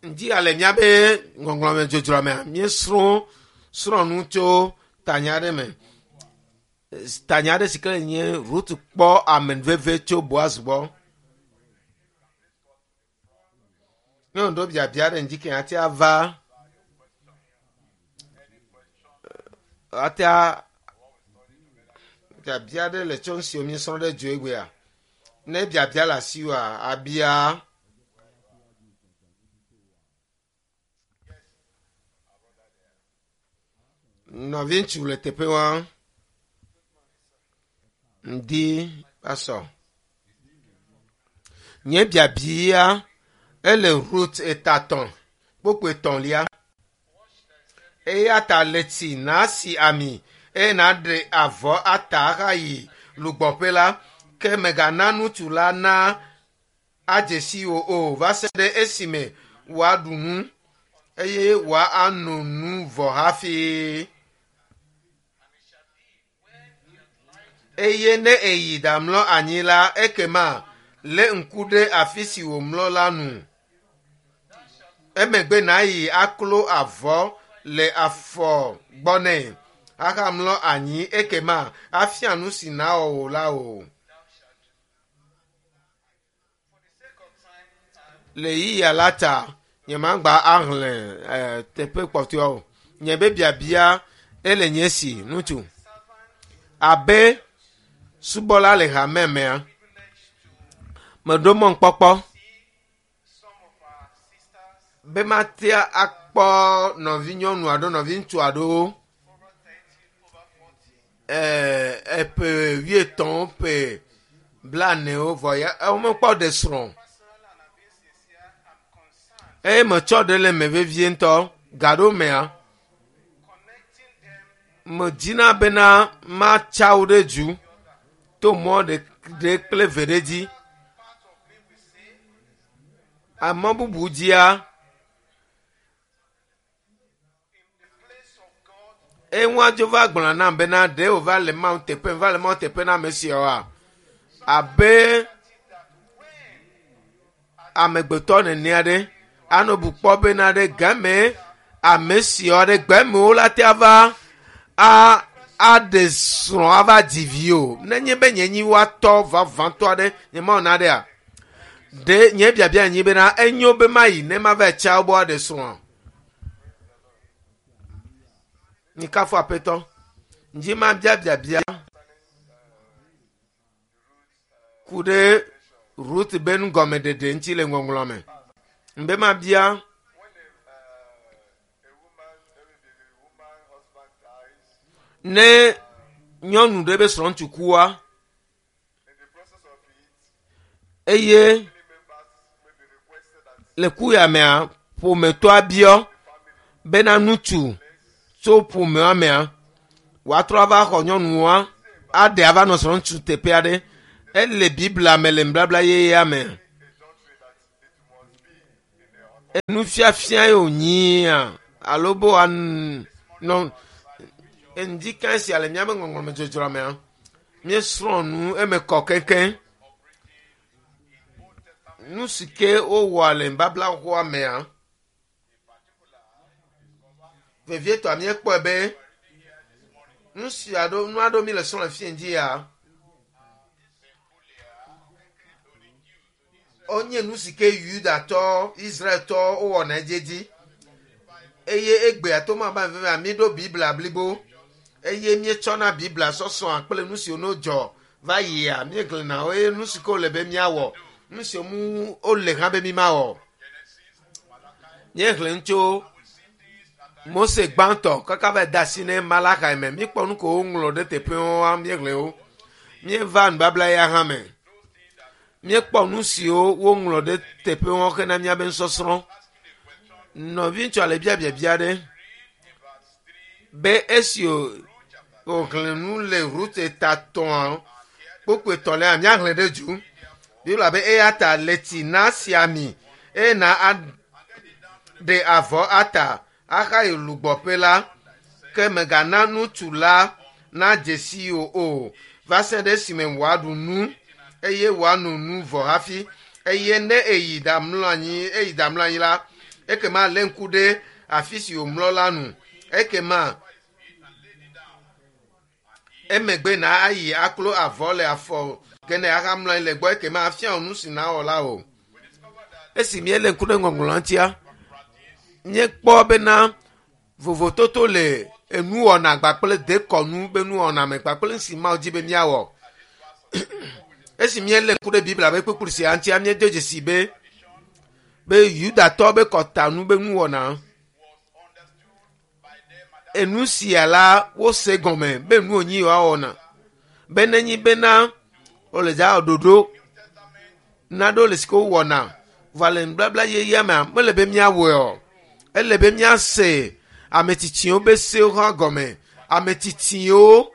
Ŋdi ale míabe ŋɔŋlɔme dzodzroa mea, míesrɔ̃ srɔ̃ nu tso tanya aɖe me. Tanya aɖe si ke nye Rut kpɔ amenuveve tso Boaz gbɔ. Nyɔnu ɖo biabia ɖe ŋdi ke ate ava ate biabia ɖe le tso nu siwo míesrɔ̃ ɖe dzo egbea. Ne biabia le asiwòa, abia. Nɔviŋutsu le teƒe wa. Ŋdi pasɔ. Nye biabia ele Rut etatɔ̃ kpokpo etɔ̃lia. Eya ta le tsi nasi ami eye nàɖe avɔ ata ahayi lugbɔƒe la, ke mègana ŋutsu la na adze si wò o va se ɖe esime wòaɖu nu eye wòano nu vɔ hafi. Eye ne èyi ɖamlɔ anyi la, ekema lé ŋku ɖe afi si wòmlɔ la nu. Emegbe nàyi aklo avɔ le afɔ gbɔ nɛ ahamlɔ anyi, ekema afia nu si nàwɔ wò la wò. Le ɣeyiɣia la ta, nyemagba ahlẽ eh, teƒe kpɔtɔewo o. Nye be biabia ele nye si, ŋutsu. Abe subɔla le hame mea, meɖo mɔnukpɔkpɔ be matea akpɔ nɔvinyɔnu alo nɔviŋutsu aɖewo eh, eƒe wuietɔ̃ ƒe blanewo vɔ ya womekpɔ ɖe srɔ̃ eye metsɔ ɖe le eme vevie ŋutɔ gaɖo mea medina bena matsa wo ɖe du to mɔ ɖe kple eve ɖe dzi Emɔ bubu dzia, eŋua dzo va gblɔna nam bena ɖe wòva le Mawu teƒe, va le Mawu teƒe na ame siawoa? Abe amegbetɔ nene aɖe anɔ bu kpɔ bena ɖe game ame siawo ɖe gbemewo la te ava a aɖe srɔ̃ ava dzi vi o. Nenye be nye nyi woatɔ vavãtɔ aɖe nye mawɔ na ɖea? Ɖe nye biabia nyi bena enyo be mayi ne mava tsa wo aɖe srɔ̃a? Mikafu Aƒetɔ. Ŋdzi mabia biabia ku ɖe Ruth be nugɔmeɖeɖe ŋuti le ŋɔŋlɔ me. Ŋbe mabia ne nyɔnu ɖe be srɔ̃ŋutsu kua eye le ku ya mea ƒometɔa biɔ bena ŋutsu tso ƒomea mea wòatrɔ ava xɔ nyɔnua aɖe ava nɔ srɔ̃ŋutsu teƒe aɖe. Ele Biblia me le nubabla yeyea me. Nufiafia ye wònyia alo be wòanɔ ŋdi sia le míaƒe ŋɔŋlɔme dzodzroa mea, míesrɔ̃ nu eme kɔ keŋkeŋ. Nu si ke wowɔa le nubabla xoxoa mea, vevietɔa míekpɔe be nu si aɖo nu aɖewo mi le srɔ̃ le fi dzi ya wonye nu si ke Yudatɔ, Israeltɔ wowɔna edziedzi. Eye egbea to ma ba vevia míɖo Biblia blibo eye míetsɔna Biblia sɔsrɔ̃a kple nu siwo no dzɔ va yia míexlẽna wo eye nu si ke wòle be míawɔ, nu siwo ŋu wole hã be mímawɔ. Míexlẽ nu tso Mose gbãtɔ kaka va de asi ne Malaxi me. Míekpɔ nu ko woŋlɔ ɖe teƒewoa míexlẽ wo. Míeva nubabla ya hã me. Míekpɔ nu siwo woŋlɔ ɖe teƒewo hena míabe nusɔsrɔ̃. Nɔviŋutsua le bia biabia aɖe be esi wòxlẽ nu le Rut eta tɔ̃a kpukpui etɔ̃lia míaxlẽ ɖe dzu. Biblia be eya ta le tsi nasi ami eye na aɖe avɔ ata ahayi lugbɔƒe la, ke mègana ŋutsu la nadze si wò o, va se ɖe esime wòaɖu nu eye wòano nu vɔ hafi. Eye ne eyi ɖamlɔ anyi, eyi ɖamlɔ anyi la, Ekema lé ŋku ɖe afi si wòmlɔ la nu. Ekema emegbe na ayi aklo avɔ le afɔ gene ahamlɔ anyi le gbɔ ekema afia wò nu si nawɔ la o. Esi míelé ŋku ɖe ŋɔŋlɔa ŋutia, míekpɔ bena vovototo le enuwɔna kpakple dekɔnu be nuwɔna me kpakple nu si Mawu di be míawɔ. Esi míelé ŋku ɖe Biblia be kpukpui sia ŋutia, míedo dzesi be be Yudatɔwo be kɔtanu be nuwɔna enu sia la wose gɔme be nu wònyi yewoawɔna be nenyi bena wole dza wɔ ɖoɖo naɖewo le si ke wowɔna vɔa le nubabla yeyea mea mele be míawɔe o. Ele be míase ame tsitsiwo be sewo hã gɔme. Ame tsitsiwo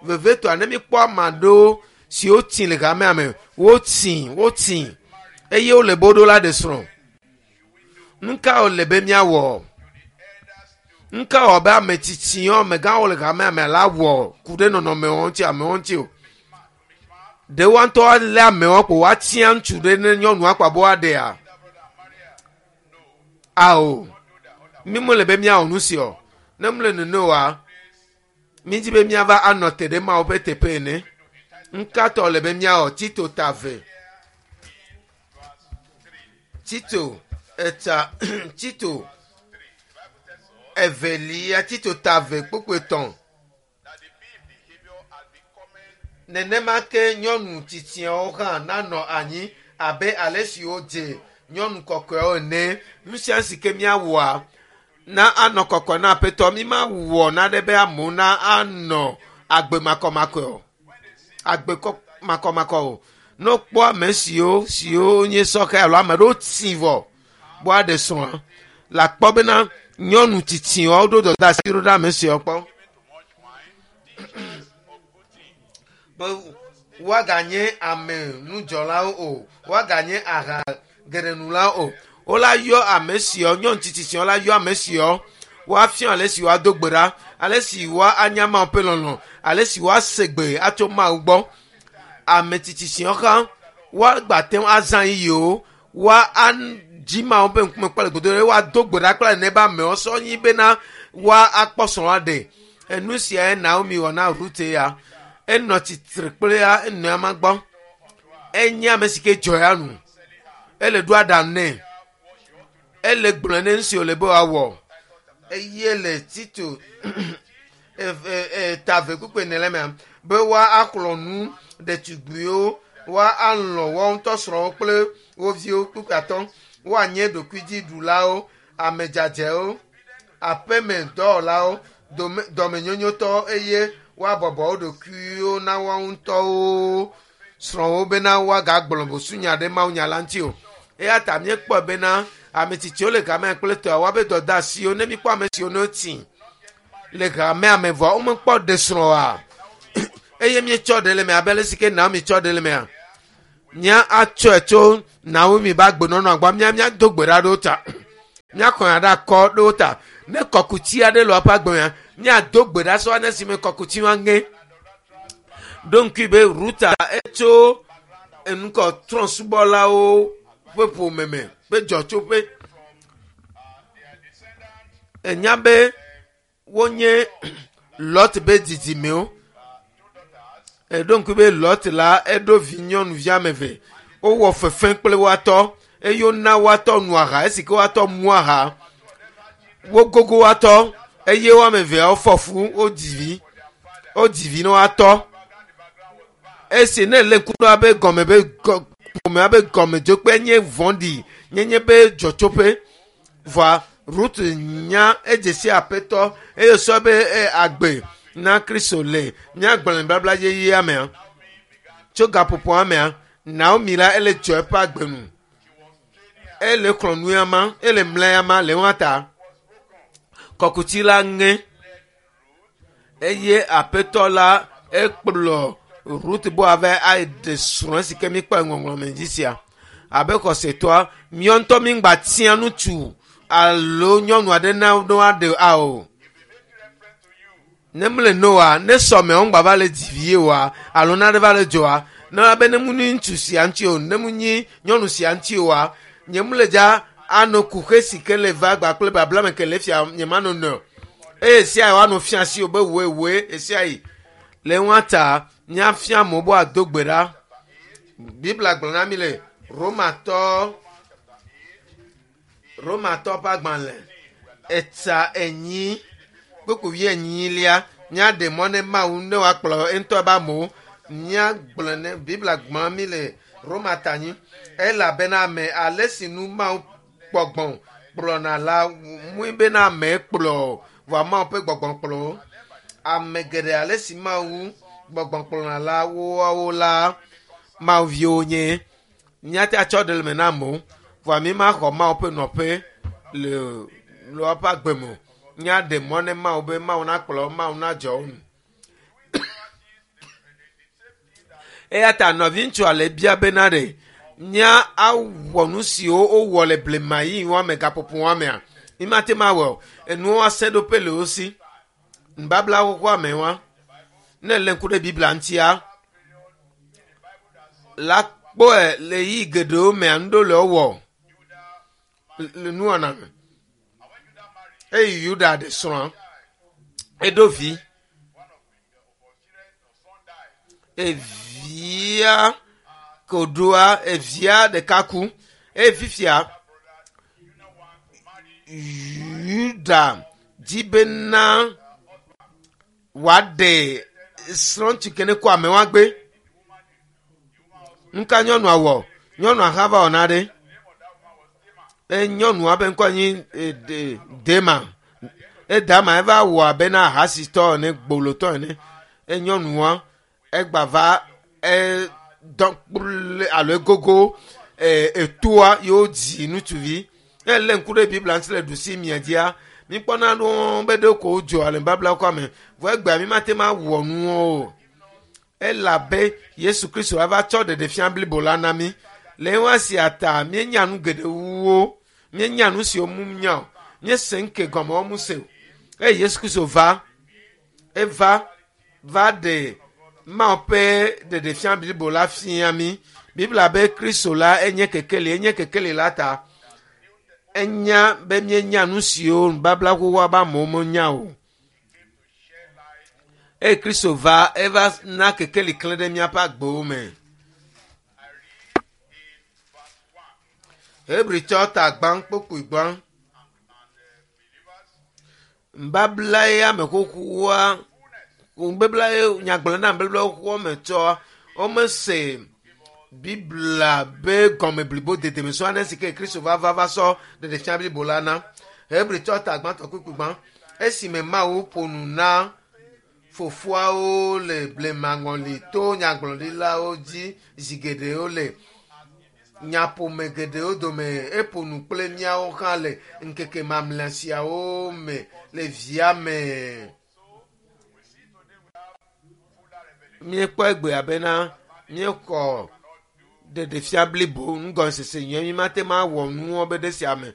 vevietɔa ne míkpɔ ame aɖewo siwo tsi le hamea me wotsi wotsi eye wole be woɖo la ɖe srɔ̃. Nu ka wòle be míawɔ? Nu ka wɔ be ame tsitsiwo amegãwo le hamea me la wɔ ku ɖe nɔnɔmewo ŋuti amewo ŋuti o? Ɖe woa ŋutɔ alé amewo kpo woatia ŋutsu ɖe ne nyɔnua kpa be woaɖea? Ao, mi mele be míawɔ nu si o. Ne mele nene oa, mídi be míava anɔ te ɖe Mawu ƒe teƒe ene. Ŋkatɔ le be míawɔ Tito ta ve. Tito eta Tito evelia Tito ta ve kpukpui etɔ̃. Nenema ke nyɔnu tsitsiawo hã nanɔ anyi abe ale si wodze nyɔnu kɔkɔewo ene. Nu sia si ke míawɔa na anɔ kɔkɔe na Aƒetɔ. Mi ma wɔ naɖe be amewo na anɔ agbe makɔmakɔe o. Agbe makɔmakɔ o. Ne wokpɔ ame siwo siwo nye sɔhɛ alo ame ɖewo tsi vɔ be woaɖe srɔ̃a, le akpɔ bena nyɔnu tsitsiwo ɖo dɔdeasi ɖo ɖe ame siawo kpɔ. Be woaganye ame nudzɔlawo o, woaganye aha geɖenulawo o. Wola yɔ ame siawo, nyɔnu tsitsi siawo la yɔ ame siawo, woafia ale si woado gbe ɖa, ale si woanya Mawu ƒe lɔlɔ̃, ale si woase gbe atso Mawu gbɔ. Ame tsitsi siawo hã woagbate ŋu azã yiyiwo, woa adzi Mawu ƒe ŋkume kple gbedodoɖa eye woado gbe ɖa kple ne be amewo sɔ nyi bena woakpɔ srɔ̃a ɖe. Enu siae Naomi wɔ na Rut ya. Enɔ tsitre kple ya enɔ ama gbɔ. Enye ame si ke dzɔ ya nu. Ele ɖo aɖaŋu nɛ. Ele gblɔe ne nu si wòle be wòawɔ. Eye le Tito ta ve kpukpui ene le mea be woaxlɔ̃ nu ɖetugbiwo, woalɔ̃ woawo ŋutɔ srɔ̃wo kple wo viwo kpukpui atɔ̃, woanye ɖokuidziɖulawo, ame dzadzɛwo, aƒemedɔwɔlawo, dɔmenyonyotɔwo eye woabɔbɔ wo ɖokuiwo na woawo ŋutɔwo srɔ̃wo bena woagagblɔ busunya ɖe mawunya la ŋuti o. Eya ta míekpɔe bena ame tsitsiwo le hamea kple tɔa woabe dɔdeasiwo ne míkpɔ ame siwo ne wotsi le hamea me vɔa womekpɔ ɖe srɔ̃ oa eye míetsɔ ɖe le me abe ale si ke Naomi tsɔ ɖe le mea mía atsɔe tso Naomi be agbenɔnɔa gbɔ mía míado gbe ɖa ɖe wo ta míaxɔ nya ɖe akɔ ɖe wo ta ne kɔkuti aɖe le woƒe agbe mea míado gbe ɖa sɔ ne si me kɔkuti wa ŋe ɖo ŋkui be Ruta etso enukɔ trɔ̃subɔlawo ƒe ƒome me ƒe dzɔtsoƒe enya be wonye Lot be dzidzimewo eɖo ŋku be Lot la eɖo vi nyɔnuvi ame eve wowɔ fefe kple woatɔ eye wona woatɔ nu aha esi ke woatɔ mu aha wogogo woatɔ eye woame eveawo fɔ fu wodzi vi wodzi vi na woatɔ esi ne lé ŋku ɖo abe gɔme be ƒomea be gɔmedzokpe nye vɔ̃ɖi nyenye be dzɔtsoƒe vɔa Ruth nya edze si aƒetɔ eye sɔ be agbe na Kristo le míagblɔ nubabla yeyea mea tso gaƒoƒoa mea Naomi la ele dzɔ eƒe agbe nu ele xlɔ̃ nu ya ma ele mla ya ma le ŋua ta kɔkuti la ŋe eye aƒetɔ la ekplɔ Ruth bo ave aɖe srɔ̃ si ke míkpɔ ŋɔŋlɔ me dzi sia abe xɔsetɔa míɔ ŋutɔ míŋgba tia ŋutsu alo nyɔnu aɖe na ne woaɖe ao ne mele noa ne sɔmewo ŋgba va le dzi vie oa alo naɖe va le dzɔa ne abe ne mu nyi ŋutsu sia ŋuti o ne mu nyi nyɔnu sia ŋuti oa nye mu le dza Ano kuxe si ke le va gba kple babla me ke le fia nye ma no nɔ. Eye sia woanɔ fia si o be woe woe esia yi. Le ŋua ta míafia amewo be woado gbe ɖa. Biblia gblɔ na mi le Romatɔ Romatɔ ƒe agbalẽ etsa enyi kpukpui enyilia míaɖe mɔ ne Mawu ne wòakplɔ eŋutɔ ƒe amewo. Míagblɔ ne Biblia gblɔ na mi le Roma ta nyi elabena ame ale si nu Mawu gbɔgbɔ kplɔna la mui bena ame kplɔ vɔa Mawu ƒe gbɔgbɔ kplɔ wo. Ame geɖe ale si Mawu gbɔgbɔ kplɔna la woawo la Mawu viwo nye. Míate atsɔ ɖe le me na amewo vɔa mi ma xɔ Mawu ƒe nɔƒe le le woƒe agbe me o. Míaɖe mɔ ne Mawu be Mawu nakplɔ wo, Mawu nadzɔ wo nu. Eya ta nɔviŋutsua le bia bena ɖe mía awɔ nu siwo wowɔ le blema yi wɔme gaƒoƒo wɔmea. Mi mate ma wɔ o. Enuwo ase ɖoƒe le wo si. Nubabla xoxoa me wa. Ne le ŋku ɖe Biblia ŋutia la kpɔe le yi geɖewo mea nu ɖewo le wowɔ le nuwɔna me. Eye Yuda ɖe srɔ̃a eɖo vi. Evia koɖoa evia ɖeka ku eye fifia Yuda dzi bena wòaɖe srɔ̃ŋutsu ke ne kɔ amewo agbe. Nuka nyɔnua wɔ? Nyɔnua hã va wɔ na ɖe. E nyɔnua ƒe ŋkɔ nyi e, de, Dema. Edama eva wɔ abe na ahasitɔ ene, gbolotɔ ene. E nyɔnua egba va e dɔ kple alo egogo e etoa yewo dzi ŋutsuvi. Ne lé ŋku ɖe Biblia ŋuti le ɖusi mia dzia, míkpɔna nuwo be ɖe ko wodzɔ le nubabla kɔ me. Vɔ egbea mi mate ma wɔ nuwo o. Elabe Yesu Kristo ava tsɔ ɖeɖefia blibo la na mí. Le ewa sia ta míenya nu geɖe wu wo. Míenya nu siwo mu nya o. Míese ŋke gɔme wo mu se o. Eye Yesu Kristo va, eva va ɖe Mawu ƒe ɖeɖefia blibo la fia mí. Biblia be Kristo la enye kekeli, enye kekeli la ta. Enya be míenya nu siwo nubabla xoxoa be amewo menya o. Eye Kristo va, eva na kekeli klẽ ɖe míaƒe agbewo me. Hebritɔ ta gbã kpokpui gbã. Nubabla ya me xoxoa, nubabla ye nyagblɔ na nubabla xoxoa me tsɔ womese Biblia be gɔme blibo dede me sɔ ane si ke Kristo va va va sɔ ɖeɖefia blibo la na. Hebritɔ ta gbãtɔ kpukpui gbã. Esime Mawu ƒo nu na fofoawo le blemaŋɔli to nyagblɔɖilawo dzi zi geɖewo le nyaƒome geɖewo dome eƒo nu kple míawo hã le ŋkeke mamlɛ siawo me le via me. Míekpɔ egbea bena míexɔ ɖeɖefia blibo nugɔmesese nyuie mi mate ma wɔ nuwo be ɖe sia me.